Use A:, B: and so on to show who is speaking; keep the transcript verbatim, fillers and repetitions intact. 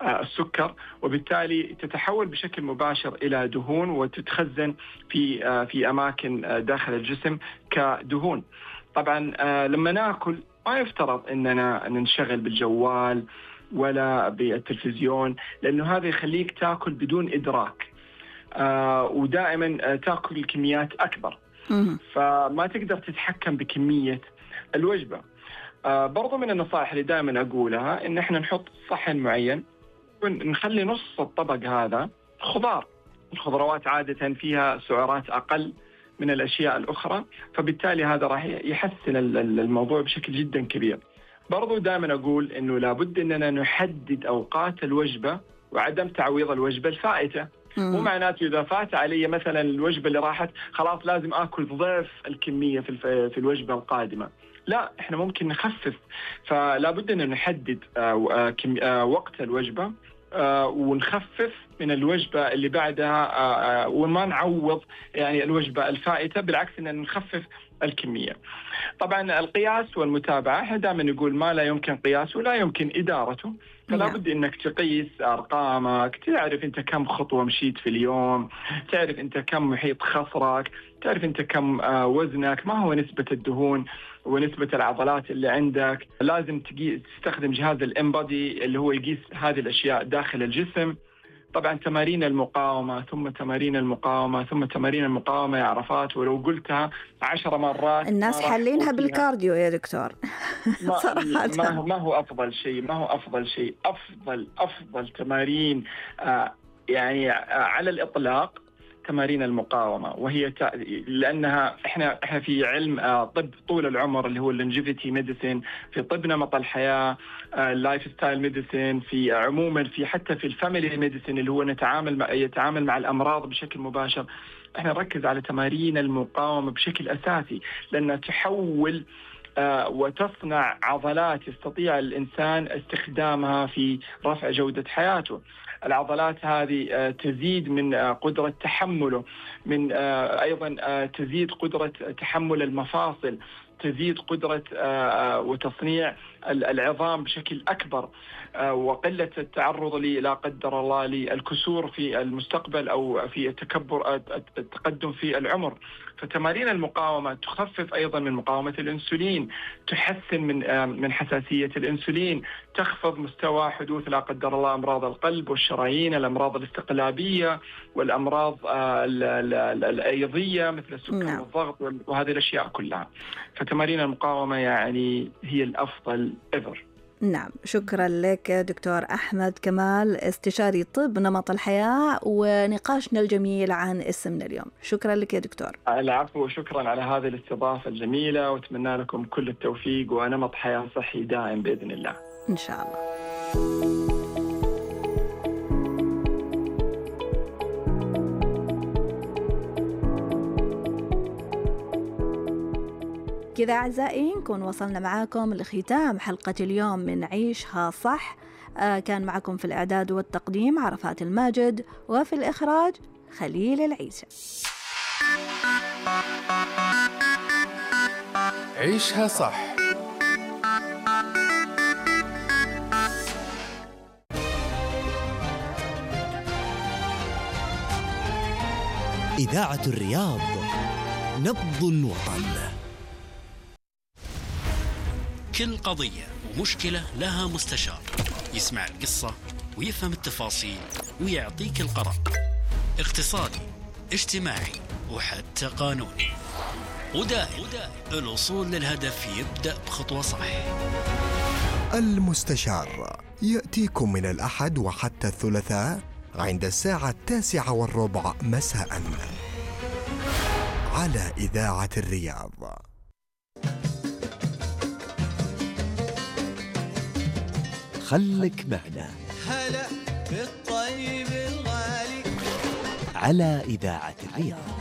A: السكر، وبالتالي تتحول بشكل مباشر إلى دهون وتتخزن في في أماكن داخل الجسم كدهون. طبعا لما ناكل ما يفترض أننا ننشغل بالجوال ولا بالتلفزيون، لأنه هذا يخليك تاكل بدون إدراك، ودائما تاكل كميات أكبر، فما تقدر تتحكم بكمية الوجبة. برضو من النصائح اللي دائما أقولها إن إحنا نحط صحن معين ونخلي نص الطبق هذا خضار. الخضروات عادة فيها سعرات أقل من الأشياء الأخرى، فبالتالي هذا راح يحسن الموضوع بشكل جدا كبير. برضو دائما أقول إنه لابد إننا نحدد أوقات الوجبة وعدم تعويض الوجبة الفائتة. مو معناته إذا فات علي مثلا الوجبة اللي راحت خلاص لازم آكل ضعف الكمية في في الوجبة القادمة. لا، إحنا ممكن نخفف، فلا بد أن نحدد وقت الوجبة ونخفف من الوجبة اللي بعدها وما نعوض يعني الوجبة الفائتة، بالعكس أن نخفف الكمية. طبعا القياس والمتابعة، احنا دائما نقول ما لا يمكن قياسه لا يمكن إدارته، فلا بد انك تقيس ارقامك، تعرف انت كم خطوة مشيت في اليوم، تعرف انت كم محيط خصرك، تعرف انت كم وزنك، ما هو نسبة الدهون ونسبة العضلات اللي عندك. لازم تستخدم جهاز الانبادي اللي هو يقيس هذه الاشياء داخل الجسم. طبعا تمارين المقاومة ثم تمارين المقاومة ثم تمارين المقاومة يا عرفات، ولو قلتها عشر مرات
B: الناس حلينها بالكارديو يا دكتور.
A: ما, صراحة ما هو ما هو أفضل شيء، ما هو أفضل شيء. أفضل أفضل تمارين آه يعني آه على الإطلاق تمارين المقاومة، وهي ت... لأنها إحنا إحنا في علم آه طب طول العمر اللي هو اللونجيفيتي ميديسين، في طب نمط الحياة، اللايف ستايل ميديسين، في عموما في حتى في الفاميلي ميديسين اللي هو نتعامل مع يتعامل مع الأمراض بشكل مباشر. إحنا نركز على تمارين المقاومة بشكل أساسي، لأنها تحول آه وتصنع عضلات يستطيع الإنسان استخدامها في رفع جودة حياته. العضلات هذه آه تزيد من آه قدرة تحمله، من آه أيضا آه تزيد قدرة تحمل المفاصل، تزيد قدرة آه وتصنيع العظام بشكل أكبر، آه وقلة التعرض لا قدر الله للكسور في المستقبل أو في التكبر التقدم في العمر. فتمارين المقاومة تخفف أيضا من مقاومة الأنسولين، تحسن من آه من حساسية الأنسولين، تخفض مستوى حدوث لا قدر الله أمراض القلب والشرايين، الأمراض الاستقلابية والأمراض آه الأيضية مثل السكر والضغط وهذه الأشياء كلها. فتمارين المقاومة يعني هي الأفضل ever.
B: نعم، شكرا لك دكتور أحمد كمال، استشاري طب نمط الحياة، ونقاشنا الجميل عن اسمنا اليوم. شكرا لك يا دكتور.
A: العفو، وشكرا على هذه الاستضافة الجميلة، واتمنى لكم كل التوفيق ونمط حياة صحي دائم بإذن الله
B: إن شاء الله. كذا أعزائي نكون وصلنا معاكم لختام حلقة اليوم من عيشها صح. آه كان معكم في الإعداد والتقديم عرفات الماجد، وفي الإخراج خليل العيسى.
C: عيشها صح.
D: إذاعة الرياض، نبض الوطن.
E: كل قضية ومشكلة لها مستشار يسمع القصة ويفهم التفاصيل ويعطيك القرار، اقتصادي، اجتماعي، وحتى قانوني. ودائم الوصول للهدف يبدأ بخطوة صح.
F: المستشار يأتيكم من الأحد وحتى الثلاثاء عند الساعة التاسعة والربع مساء على إذاعة الرياض.
D: خلك معنا.
G: هلا بالطيب الغالي
D: على إذاعة الرياض.